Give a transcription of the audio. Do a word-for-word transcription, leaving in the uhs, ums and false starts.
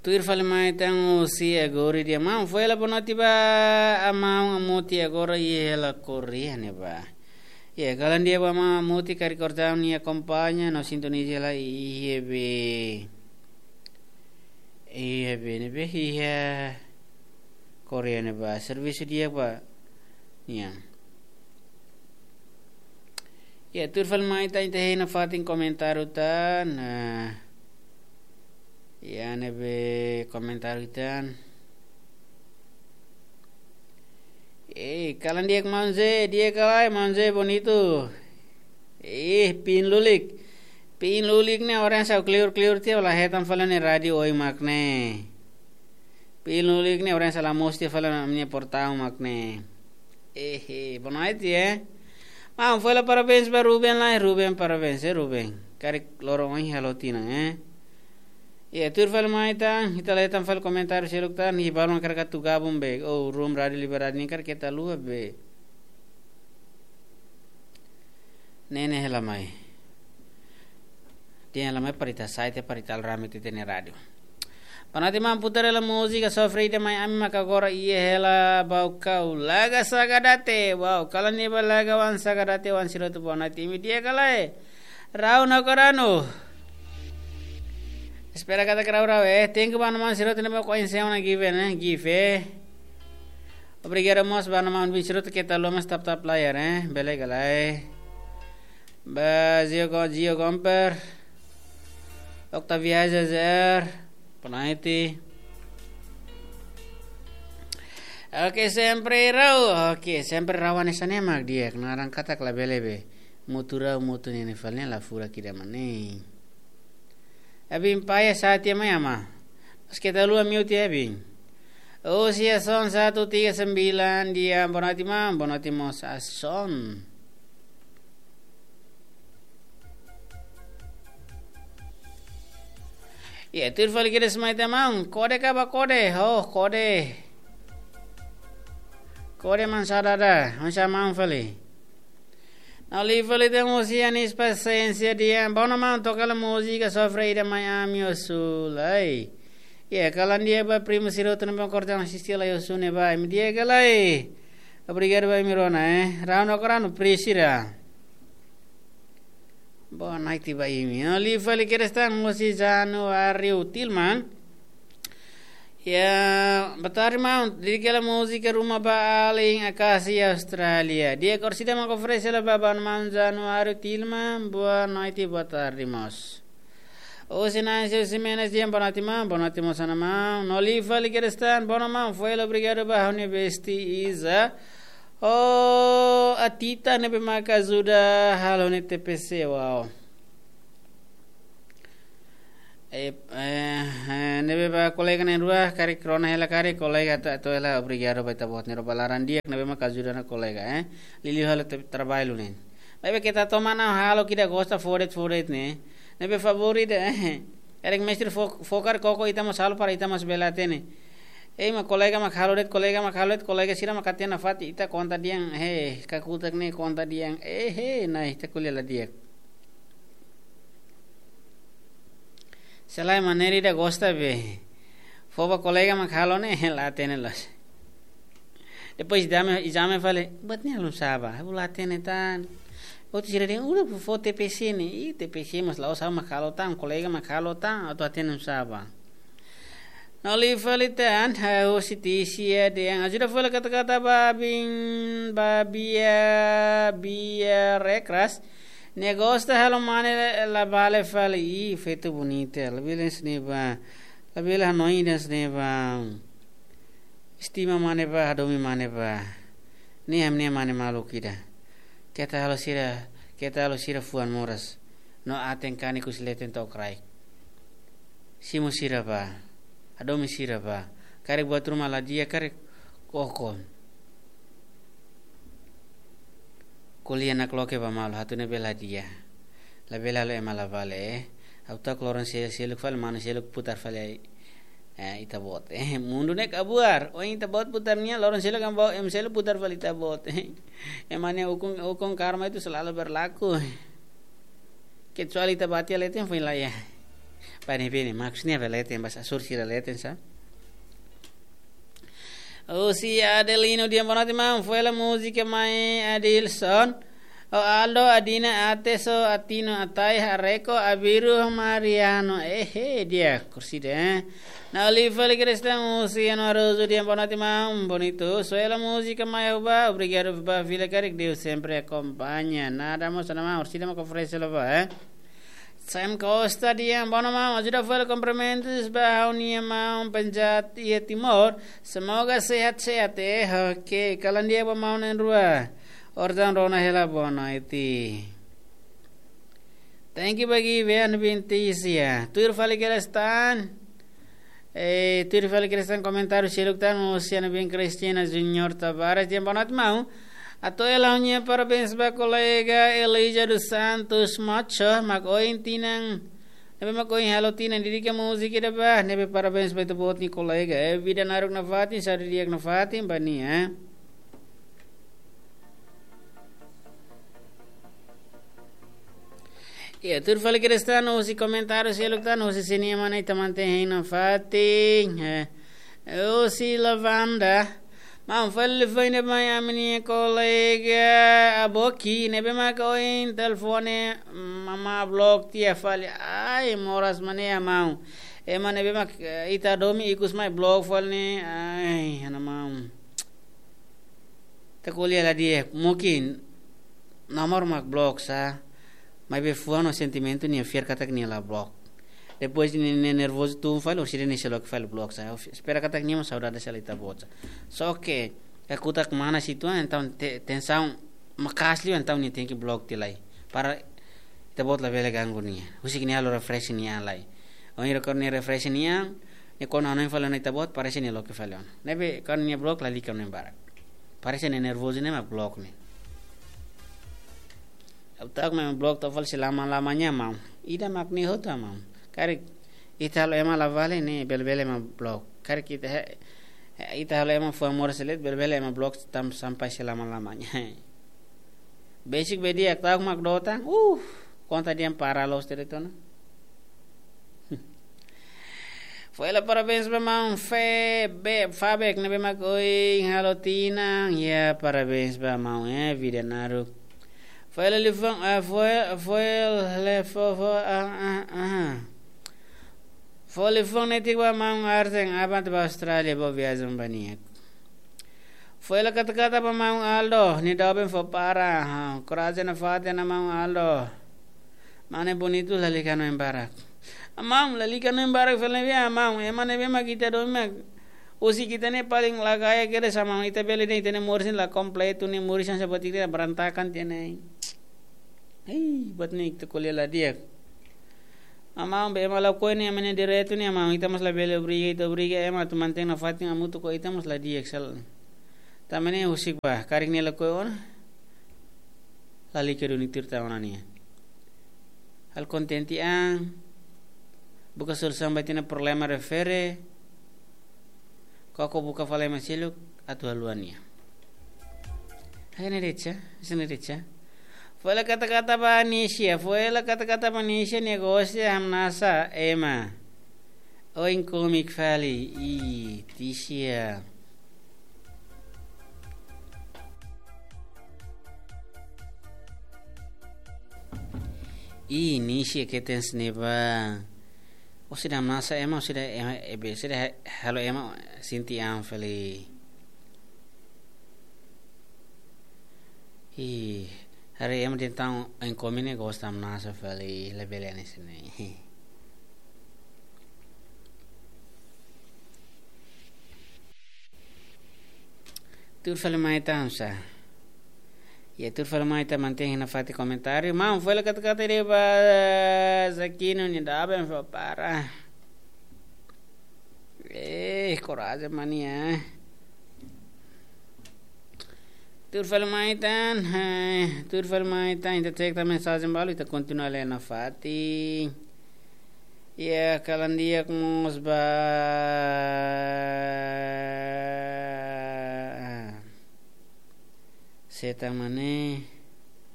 Tuir fali mai tan husi Agori di'ak. Maun, foin hela boa noite ba Maun Amuti, agora iha hela Korea ne'ebá. Ya, kalan di'ak ba Maun Amuti, karik kortaun nia akompaña no sintoniza hela iha be. Iha be ne'ebé, iha Korea ne'ebá. Servisu di'ak ba nia. Ya, tuir fali mai tan, ita hein nafatin komentáriu tan. Nah. Ya, ne'ebé komentáriu tan. Eh, kalan di'ak Maun Zé, di'ak ka lae Maun Zé Bonito. Eh, pin lulik. Pin lulik ne'e orang sa kleur-kleur tiha, la hetan fali ne'e rádiu oin mak ne'e. Pin lulik ne'e orang sa la mosu tiha fali ne'e portaun mak ne'e. Eh, eh, boa noite, eh. Maun, foin hela parabéns ba Ruben lae, Ruben, parabéns, eh, Ruben. Karik loron ohin halo tinan, eh. Ya, tuir fali mai tan, ita la hetan fali komentáriu seluk tan, iha balun karik atu gabung be. Oh, room Rádiu Liberdade nian karik keta haluha be. Ne'e ne'e hela mai. Dehan hela mai para ita sai tiha, para ita alrame tiha ita-nia rádiu. Boa noite maun, putar hela múzika Sofre Ida Mai Ami maka agora iha hela Baucau. Laga Sagadate, wow, kalan ne'ebá laga oan Sagadate, oan sira hotu boa noite. Imi di'ak ka lae? Rau no koranu. Espera katak rau-rau, eh. Thank you ba maun sira hotu ne'ebé ko'alia ona give, eh. Give, eh. Obrigadu mós ba maun sira hotu keta haluha mós tap-tap layar, eh. Bele ka lae. Ba Zio Go-, Zio Gomper. Octavia Zezer. Boa noite. Oke, sempre rau. Oke, sempre rau hanesan ne'e mak di'ak. Naran katak labele be. Mutu rau, mutu ne'e ne'e fali ne'e la furak ida mak ne'e. Abin paia sati ama ama. Mas keta haluha mute ya, Abin. Usia son satu tiga sembilan, dia boa noite maun, boa noite mós Ason. Ya, tuir fali kedas mai tan maun. Kode ka ba kode, oh, kode. Kode maun sa dada, maun sa maun fali. Na'in-lima fali tan husi Anis Pasiénsia dehan, boa noite maun, toka hela múzika Sofre Ida Mai Ami osu lai. Ya, kalan di'ak ba primu sira hotu ne'ebé kortaun asiste lai osu ne'ebá, imi di'ak ka lae? Obrigadu ba imi rona, eh. Rau no koranu, pri sira. Boa noite ba imi. Na'in-lima fali kedas tan husi Januário Tilman. Ya, boa tarde maun. Dedika hela múzika Ruma ba Alin Akasi Austrália. Di'ak, orsida mak oferese hela ba maun Januário Tilman. Boa noite, boa tarde mós. Husi Nancy Ximenes dehan boa noite maun, boa noite mós ona maun. Na'in-lima fali kedas tan, boa noite maun, foin hela obrigadu ba ha'u-nia besti Iza. Oh, Atita ne'ebé maka ajuda halo ne'e T P C, wow. Eh, eh, eh, ne'ebé ba kolega na'in-rua, karik rona hela karik kolega ta, to hela obrigadu ba ita-boot ne'e rona ba laran di'ak ne'ebé maka ajuda ona kolega, eh. Liuliu halo te-, traballu ne'e. Maibé keta toman halo ida gosta fó de'it fó de'it ne'e. Ne'ebé favór ida, eh. Karik mestre fó, fó karik koko ita mós halo para ita mós bele hatene. Eh, mak kolega mak halo de'it, kolega mak halo de'it, kolega sira mak hatene nafatin ita konta dehan, he, kakutak ne'e konta dehan, eh, he, nah, ita ko'alia la di'ak. Se lae maneira ida gosta be. Fó ba kolega mak halo ne'e, la hatene loos. Depois ezame, ezame fali, buat ne'e halo nusá ba, ha'u la hatene tan. Hotu sira dehan, uluk fó T P C ne'e, i T P C mós la'ós ha'u mak halo tan, kolega mak halo tan, atu hatene nusá ba. Na'in-lima fali tan, eh, husi Tisia dehan, ajuda fali kata-kata ba Abin, ba Bia, Bia Rekras. Nia gosta halo mane la, la bale fali, i feto bonita, labele hanesan ne'e ba, labele hanoin hanesan ne'e ba. Estima mane ba, hadomi mane ba. Ne'e ami-nia mane maluk ida. Keta halo sira, keta halo sira fuan moras. No aten kanek husi leten to'o kraik. Simu sira ba. Hadomi sira ba. Karik buat ruma la di'ak, karik koko. Ko'alia nakloke ba malu, atu ne'ebé la di'ak. Labele halo ema la bale, eh. Ha'u ta'uk loron se-, seluk fali manu seluk putar fali, eh, ita-boot. Eh, mundu ne'e kabuar. Ohin ita-boot putar nia, loron seluk ema, ema seluk putar fali ita-boot. Ema nia ukun, ukun karma itu selalu berlaku. Kecuali ita bati leten foin la iha. Bani bini, maksudnya apa leten, bahasa Sur sira leten sa. Husi Adelino, di'ak, boa noite maun, foin hela múzika mai Adilson. O Aldo, Adina, Ateso, Atino, Atai, Hareko, Abiru, Mariano. Ehe, di'ak, kursi de. Nauli fali Kristen, husi Anu Arozu, di'ak, boa noite maun, bonito. Foin hela múzika mai Aruba, obrigadu ba fila karik, Deus sempre acompanha. Nada mós, nada maun, orsida mak oferese la ba, eh. Sam Costa, di'ak, boa noite maun, ajuda fali kumprimentus ba ha'u-nia maun Penjat iha Timor. Semoga sehat-sehat, eh, oke. Kalan di'ak ba maun na'in-rua. Orsida rona hela, boa noite. Thank you ba Given Vinticia. Tuir fali Kristen. Eh, tuir fali Kristen, komentáriu seluk tan, husi anu bin Cristina Junior Tavares, di'ak, boa noite maun. Atu hela ha'u-nia parabéns ba kolega Elija dos Santos Macho, mak ohin tinan, ne'ebé mak ohin halo tinan, dedika múzika ida ba, ne'ebé parabéns ba ita-boot nia kolega. Eh, vida naruk nafatin, saúde di'ak nafatin ba nia, eh. Ya, tuir fali Kristen, husi komentáriu seluk tan, husi sira-nia mana ita mantein hein nafatin. Eh, husi Lavanda. Maun, fali foin ida mai ami-nia kolega Aboki, ne'ebé mak ohin telefone, mm, mak block tiha fali. Ai, moras mane ya maun. Ema ne'ebé mak, eh, ita domin ikus mai block fali ne'e. Ai, ha'u-nia maun. Ita ko'alia la di'ak, mungkin nomor mak block sa, maibé fuan no sentimentu nia fiar katak nia la block. Depois nia, nia nervozu tun fali, orsida nia sei loke fali block sa. Espera katak nia mós saudade sa la ita-boot sa. Só ke, kakutak mana situasaun, entaun te-, tensaun maka'as liu, entaun nia tenke block tiha lai. Para ita-boot labele ganggu nia. Husik nia halo refresh nia an lai. Ohin rokor nia refresh nia an, nia kuandu hanoin fali ona ita-boot, parese nia loke fali ona. Ne'ebé kuandu nia block lalika hanoin barak. Parese nia nervozu ne'e mak block ne'e. Ha'u ta'uk mak block to'o fali selama-lamanya maun. Ida mak ne'e hotu maun. Karik ita halo ema la vale ne'e bele-bele mak block. Karik ita he-, he-, ita halo ema fuan moras de'it bele-bele mak block tam-, sampai selama-lamanya. Besik be di'ak, ta'uk mak dota. Uh, konta dehan para loos de'it ona. Foin hela parabéns ba maun Fe-, be-, Fabek, ne'ebé mak ohin halo tinan. Ya, parabéns ba maun, eh, vida naruk. Foin hela liafuan, eh, foin, foin hela fo-, fo-, ah, ah, ah. Foin hela liafuan netik ba maun Arsen, aban ba Austrália, boa viagem ba nia. Foin hela kata-kata ba maun Aldo, nia doben fó para, ha, korajen nafatin ona maun Aldo. Mane bonitu lalika hanoin barak. Maun, lalika hanoin barak fali ne'ebé maun, ema ne'ebé mak ita domin mak. Husik ita ne'e paling la kaer kedas maun, ita bele dehan ita-nia moris ne'e la kompletu, nia moris hanesan buat ita berantakan tiha ne'e. Hei, buat ne'e ita ko'alia la di'ak. Maun, be ema lakohi ne'e, ema ne'e direitu ne'e maun, ita mós labele obriga, ita obriga ema atu mantein nafatin hamutuk ho ita mós la di'ak sala. Tanba ne'e husik ba, karik nia lakohi ona, lalika duni tuir tan ona nia. Halo kontente an, buka solusaun ba ita-nia problema refere, koko buka fali ema seluk atu haluha nia. Hanesan ne'e de'it sa, hanesan ne'e de'it sa. Foin hela kata-kata ba Nisia, foin hela kata-kata ba Nisia, nia gosta hamnasa ema. Oin komik fali, ih, Tisia. Ih, Nisia keten sne ba. Orsida hamnasa ema, orsida ema, ebe, orsida ha-, halo ema sente an fali. Ih, haree ema dehan tan oin komik ne'e gosta hamnasa fali, labele hanesan ne'e. Tuir fali mai tan sa. Ya, tuir fali mai tan, mantein hein nafatin komentáriu. Maun, foin hela kata-kata ida ba Zakino, nia doben fó para. Eh, korajen mane ya. Tuir fali mai tan, eh, tuir fali mai tan, ita cek tan mensajen balu, ita kontinua lee nafatin. Ya, kalan di'ak mós ba. Seta mane.